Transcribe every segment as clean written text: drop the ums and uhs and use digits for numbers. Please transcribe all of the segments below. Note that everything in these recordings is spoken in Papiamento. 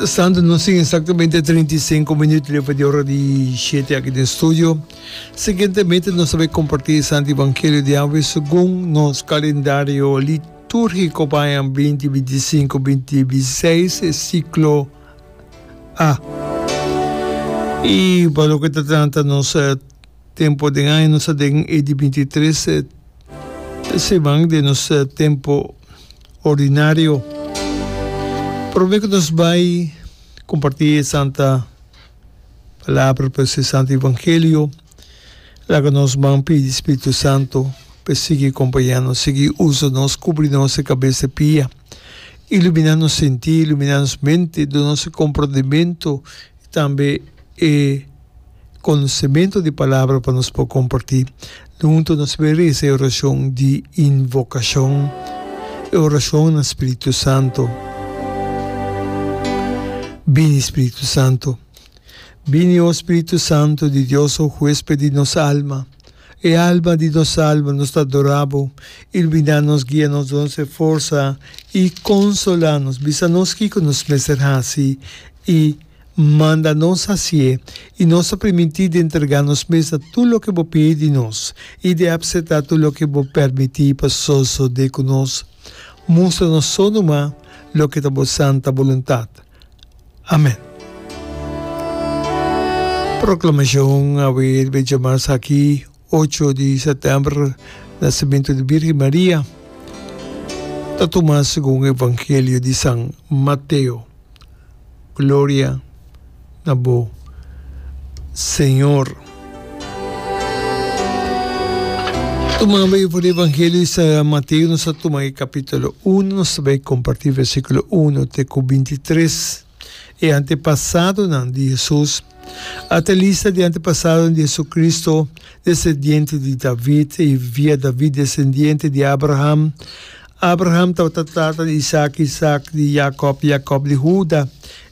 Mientrastanto nos tin exactamente 35 minuut leva di ora di shete aki den studio. Siguientemente nos ta bay comparti e Santo Evangelio di awe segun nos calendario litúrgico pa aña 2025, 2026, e ciclo A. Y pa loke ta trata nos tempo den aña nos ta den e di 23 siman den nos tempo ordinario. Prome ku nos bai kompartí e santa palabra, pues e santo evangelio, laga nos ban pidi Spiritu Santo pa e sigui kompañá nos, sigui usa nos, kubri nos e kabes e pia, iluminá nos sentí, iluminá nos mente, duna nos e komprondementu i tambe e Konosementu di palabra pa nos por kompartí. Huntu nos por resa e orashon di invokashon, e orashon na Spiritu Santu. Bini, Spiritu Santu. Bini, o Spiritu Santu di Dios, o huésped di nos alma, e alma di nos alma, nos ta adorá bo. Iluminá nos, guia nos, duna nos e forsa i konsolá nos. Bisa nos kiko nos mester hasi i. Manda nos hasié, i nos ta primintí di entregá nos mes na tur loke bo pidi di nos i di apseptá tur loke bo permití pa sosodé ku nos. Mustra nos so numa loke ta bo santa boluntat. Amèn. Proklamashon Awe riba e djamas aki, ocho di sètèmber, Nasementu di Bírgen Maria, ta tuma segun Evangelio di San Mateo. Gloria na bo, Señor. Tumando e for di Evangelio di San Mateo, nos ta tuma e capítulo 1, nos ta bai comparti versículo 1 te cu 23. E antepasadonan di Jesus. Ata e lista di antepasadonan di Jesucristo, descendiente di David y via David descendiente di Abraham. Abraham tabata tata di Isaac, Isaac di Jacob, Jacob di Huda,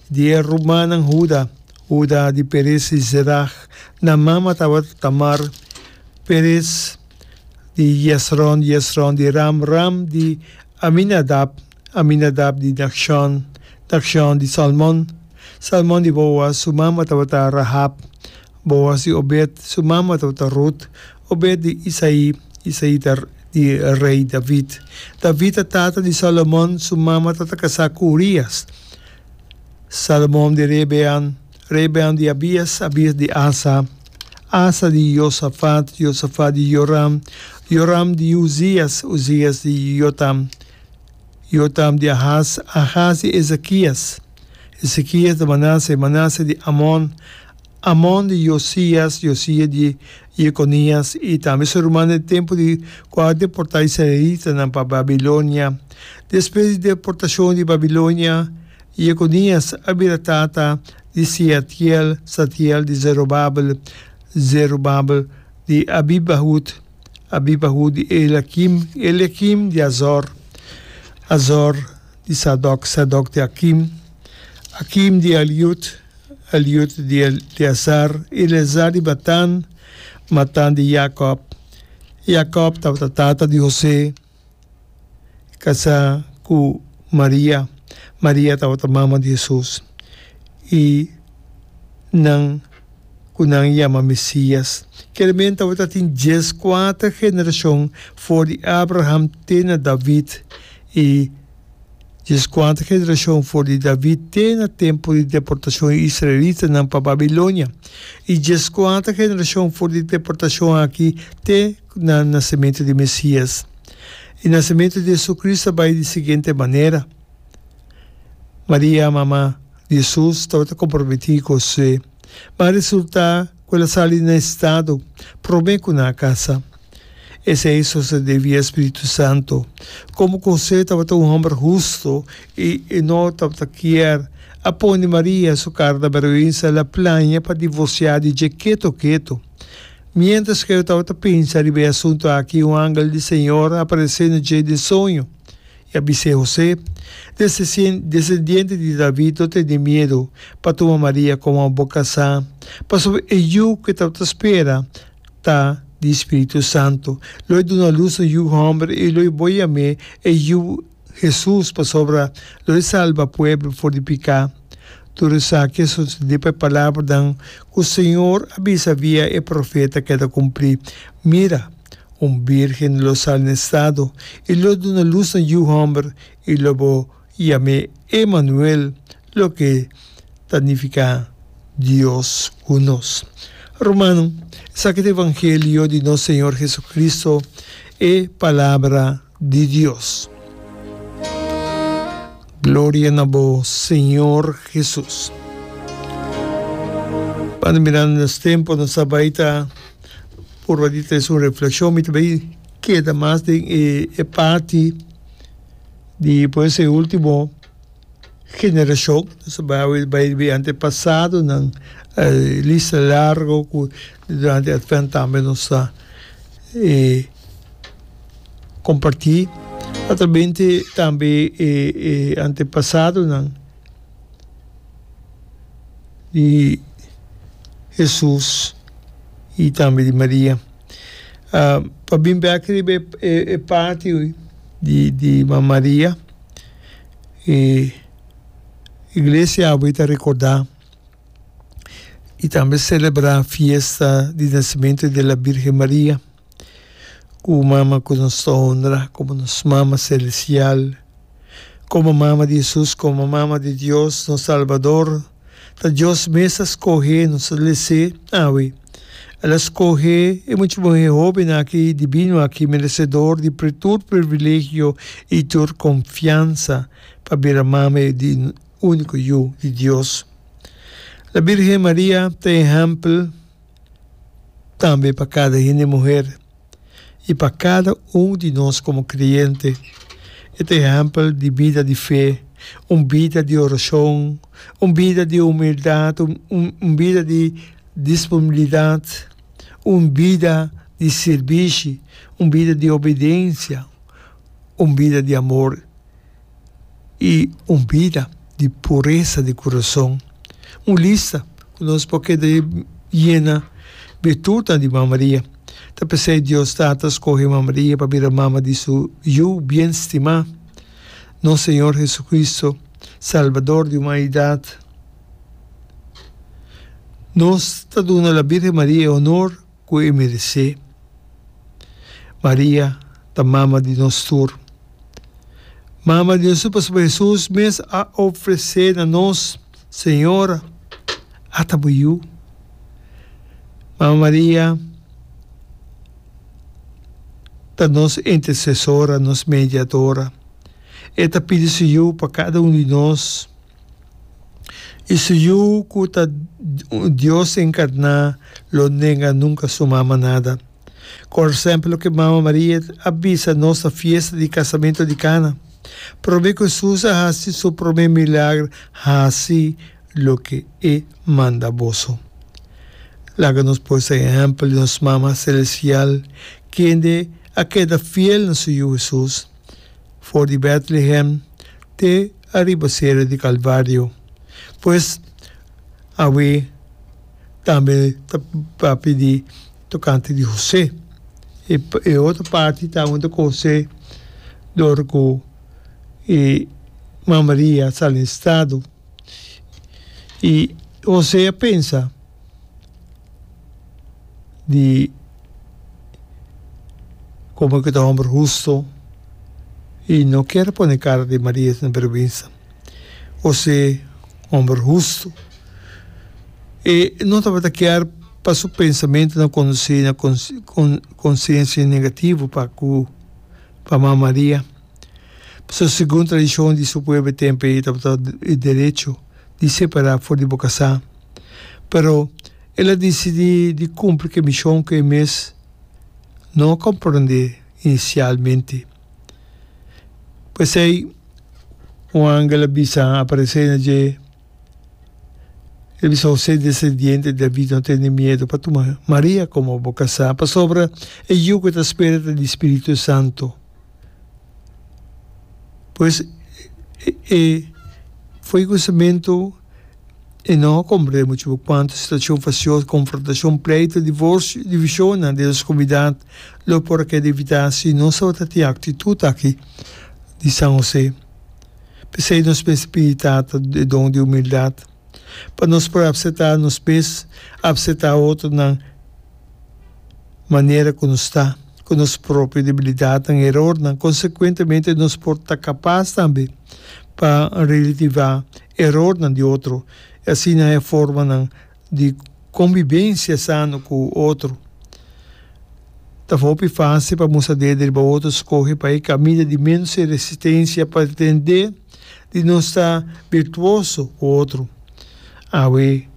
di e rumannan Huda, Huda di Perez i Zerah, nan mama tabata Tamar, Perez di Yesron, Yesron di Ram, Ram di Aminadab, Aminadab di Nachshon, Nachshon di Salmon, Salmon di Boaz, su mama tabata Rahab, Boaz di Obed, su mama tabata Rut, Obed di Isaí, Isaí ta di rei David. David ta tata di Salomon, su mama tabata kasá ku Urias. Salomon di Rebean, Rebean di Abias, Abias di Asa, Asa di Josafat, Josafat di Joram, Joram di Uzias, Uzias di Jotam, Jotam di Ahaz, Ahaz di Ezekias, Ezekias di Manase, Manase di Amon, Amon di Josias, Josias di Jekonias i tambe su rumannan den tempu di ku a deportá israelitanan pa Babilonia. Despues di deportashon di Babilonia, Jekonias a bira tata di Seatiel, Satiel di Zerubabel, Zerubabel di Abibahud, Abibahud di Eliakim, Eliakim di Azor, Azor di Sadok, Sadok di Akim, Akim di Eliud, Eliud di Eleazar, Eleazar di Matan, Matan di Jacob. Jacob tabata tata di José, kasá ku Maria. Maria tabata mama di Hesus i nan ku nan yama Mesias. Kermen tabata tin dieskuater generashon for di Abraham te na David i Dieskuater generashon for di David te na tempu di deportashon di israelitanan pa Babilonia, i dieskuater generashon for di deportashon aki te na nasementu di Mesias. E nasementu di Jesucristo a bai di siguiente manera, Maria, mama di Jesus, tabata komprometí ku José, ma a resultá ku el a sali na estado promé ku nan a kasa. Esei sosodé via spiritu santu. Komo ku José tabata un hòmber hustu i e no tabata kier a pone Maria su kara na bèrgwensa, el a plania pa divorsiá di dje ketu ketu. Miéntras ku e tabata pensa riba e asuntu aki, un angel di Señor a aparesé na dje den soño i a bis'é, José, desendiente di David, no tene miedu pa tuma Maria komo bo kasá, pasobra e yu ku e tabata spera ta di Spiritu Santu. Lo e duna lus un yu hòmber i lo e bo yam'é e Yu Hesus, pasobra lo e salba pueblo for di piká. Tur esaki a sosodé pa e palabranan ku Señor a bisa via e profeta keda kumplí, Mira, un bírgen lo sali na estado i lo duna lus na yu hòmber, i lo bo yam'é Emanuel, loke ta nifiká Dios ku nos. Rumannan, esaki ta evangelio di nos Señor Jesucristo, e Palabra di Dios. Gloria na bo, Señor Jesus. Banda mirando nos tempo, nos a bai ta purba di trese un reflexion. Mi ta bai keda mas den e, e parti di pues e ultimo generashon, nos a bai bai di antepasadonan, lista largo ku durante Advent tambe nos ta kompartí. Atrabente tambe e antepasadonan di Hesus i tambe di Maria. Pa bin bèk riba e parti di Maria. E iglesia awe ta rekordá i tambe selebrá fiesta di nasimentu di la Birgen Maria, ku mama ku nos ta honra komo nos Mama Selestial, komo Mama di Hesus, komo Mama di Dios, nos Salbador. Ta Dios mes a skohe nos a les'é awe. El a skohe e mucha muhé hóben aki, dibino aki, meresedor di tur privilegio i tur konfiansa pa bira mame di úniko Yu di Dios. La Bírgen Maria ta ehèmpel tambe pa kada hende muher i pa kada un di nos komo kreyente. E ta ehèmpel di bida di fe, un bida di orashon, un bida di humildat, un bida di disponibilidat, un bida di sirbishi, un bida di obedensia, un bida di amor i un bida di puresa di kurason. Un lista ku nos por keda yena birtutnan di Mama Maria. Ta p'esei Dios Tata a skohe Mama Maria pa bira mama di su Yu bien stimá, nos Señor Jesucristo, Salbador di humanidat. Nos ta duna la Birgen Maria e honor ku e meresé. Maria ta mama di nos tur. Mama di nos tur pasobra Hesus mes a ofresé na nos, Señora, ata bo yu. Mama Maria ta nos intersesora, nos mediadora. E ta pidi su yu pa kada un di nos. I su Yu ku ta Dios enkarná lo nenga nunka su mama nada. Kor semper loke Mama Maria a bisa nos na fiesta di kasamentu di Kana. Promé ku Hesus a hasi su promé milager, hasi loke e manda boso. Laga nos pues e ehèmpel di nos Mama Selestial, kende a keda fiel na su Yu Hesus. For di Bethlehem te ariba sera di Calvario. Pues, awe tambe ta papia di tocante di José. E, e otro parti ta unda cu José dor cu e Mama Maria sali na estado. I José a pensa di komo ku ta homber husto i no kier pone kara di Maria na bergwensa. José, homber husto, e no tabata kier pa su pensamentunan kondusí na konsiensia negativo pa ku pa Mama Maria. Pasobra segun tradishon di su pueblo e tempu ei tabata e derecho di separá for di bo kasá. Pero el a disidí di kumpli ku e mishon ku e mes no a komprondé inisialmente. P'esei un angel a bisa aparesé na dje. El bisa José, desendiente di David, no tene miedu pa tuma Maria komo bo kasá, pasobra e yu ku ta spera ta di Spiritu Santu. Pues e foi kusamentu e no a komprende muchu kuantu situashon fasioso, konfrontashon, pleitu, divorsio, divishonnan den nos komunidat lo por a keda evitá si nos tabata tin aktitut aki di San José. P'esei nos mester pidi Tata e don di humildat. Pa nos por apseptá nos mes, apseptá otronan manera ku nos ta, ku nos propio debilidatnan, erornan. Konsekuentemente nos por ta kapas tambe pa relativá erornan di otro i asina e formanan di konbibensia sano ku otro. Ta hopi fásil pa mustra dede riba otro skohe pa e kaminda di ménos resistensia pa pretendé di nos ta birtuoso ku otro. Awe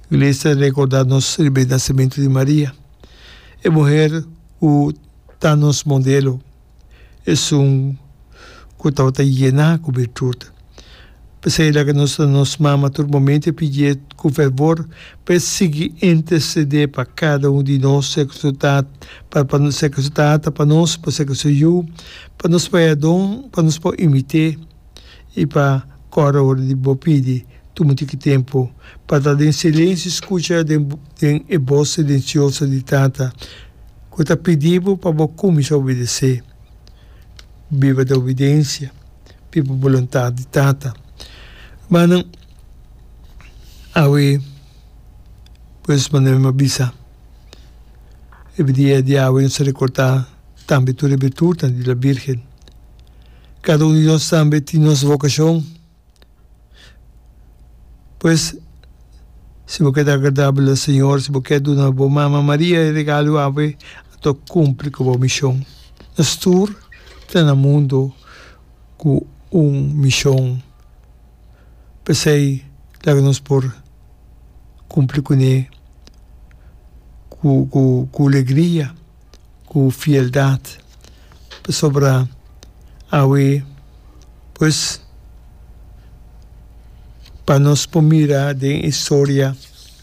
Iglesia ta rekordá nos riba e nasementu di Maria, e muher ku ta nos modelo. Esun ku tabata yená ku birtut. P'esei laga nos ta nos mama tur momento i pidié ku fervor pa e sigui intersedé pa kada un di nos, sea ku su tata, pa pa sea ku su tata pa nos, pa sea ku su yu, pa nos por haya don, pa nos por imit'é i pa kòrda ora di bo pidi tuma un tiki tempu pa ta den silensio i skucha den den e bos silensioso di Tata. Ku ta pidi bo pa bo kuminsá obedesé. Biba den obedensia, biba boluntat di Tata. Rumannan, awe, pues manera mi a bisa, riba dia di awe nos ta rekordá tambe tur e birtutnan di la Birgen. Kada un di nos tambe tin nos vokashon. Pues, si bo ke ta agradabel na Señor, si bo ke duna bo mama Maria e regalo awe, anto kumpli ku bo mishon. Nos tur ta na mundu ku un mishon. P'esei laga nos por kumpli kuné ku ku ku alegria. Ku fieldat pasobra awe pues pa nos por mira den e historia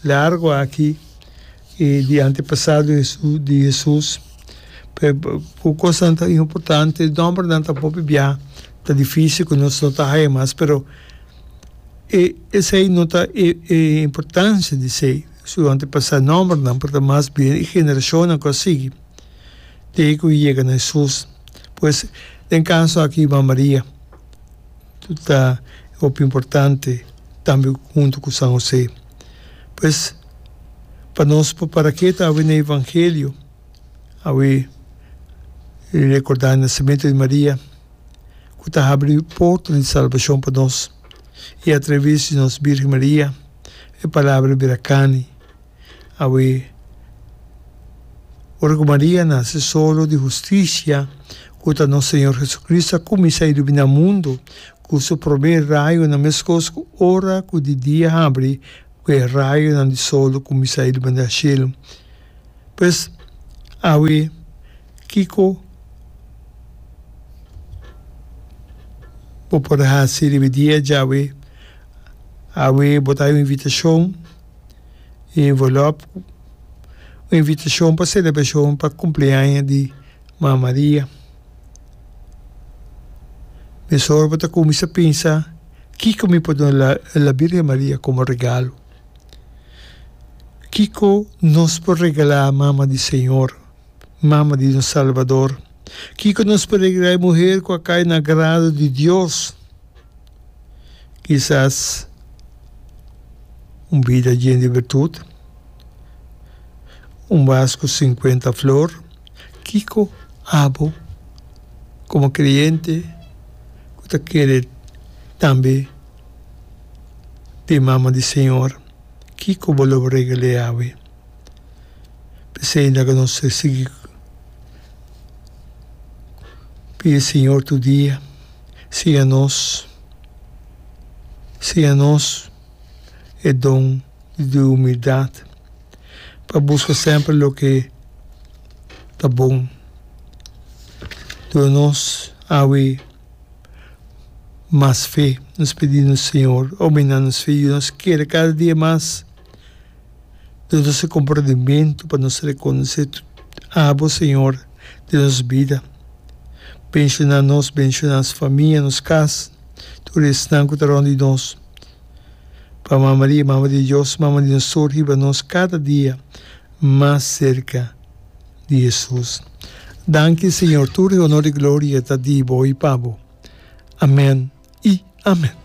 largo aki y di antepasado di Jesus ku kosnan ta importante nombernan ta hopi bia ta dificil ku nos no ta haya mas pero e esey no ta e importancia di esey. Su antepasá nòmbernan por ta mas bien e generashonnan ku a sigui te ku yega na Hesus. Pues, den kaso aki Mama Maria ta hopi importante tambe huntu ku San Hosé. Pues, pa nos por para ketu awe na Evangelio, awe rekordá e nasementu di Maria ku ta habri porta di salbashon pa nos i atraves di nos Birgen Maria. E palabra bira kani. Awe, ora ku Maria nase solo di hustisia ku ta nos Señor Jesucristo a kuminsá iluminá mundu ku su promé rayonan meskos ku ora ku di dia habri ku e rayonan di solo kuminsá iluminá shelu. Pues, awe, kiko bo por hasi riba e dia djawe? Awe bo ta hay un invitacion y envelop, un invitacion pa celebracion pa cumpleaños di Mama Maria. Mesora bo ta cuminsa pensa kico mi por duna la Virgen Maria como regalo. Kico nos por regala Mama di Señor, Mama di nos Salvador? Kico nos por regala e muher cu a cay na agrado di Dios? Kisas un bida yen di birtut, un vas ku sinkuenta flor. Kiko abo komo kreyente ku ta kere tambe den mama di Señor, kiko bo lo regal'é awe? P'esei laga nos sigui pidi Señor tur dia. Siña nos, siña nos e don di humildat pa buska semper loke ta bon. Duna nos awe mas fe. Nos pidi nos Señor aumenta nos fe, yuda nos kere kada dia mas. Duna nos e komprendimentu pa nos rekonosé Abo, Señor, den nos bida. Benshoná nos, benshoná nos famia, nos kas, tur esnan ku ta rònt di nos. Pa Mama Maria, Mama di Dios, Mama di nos tur, hiba nos kada dia mas serka di Hesus. Danki, Señor, tur e honor i gloria ta di Bo i pa Bo. Amèn i amèn.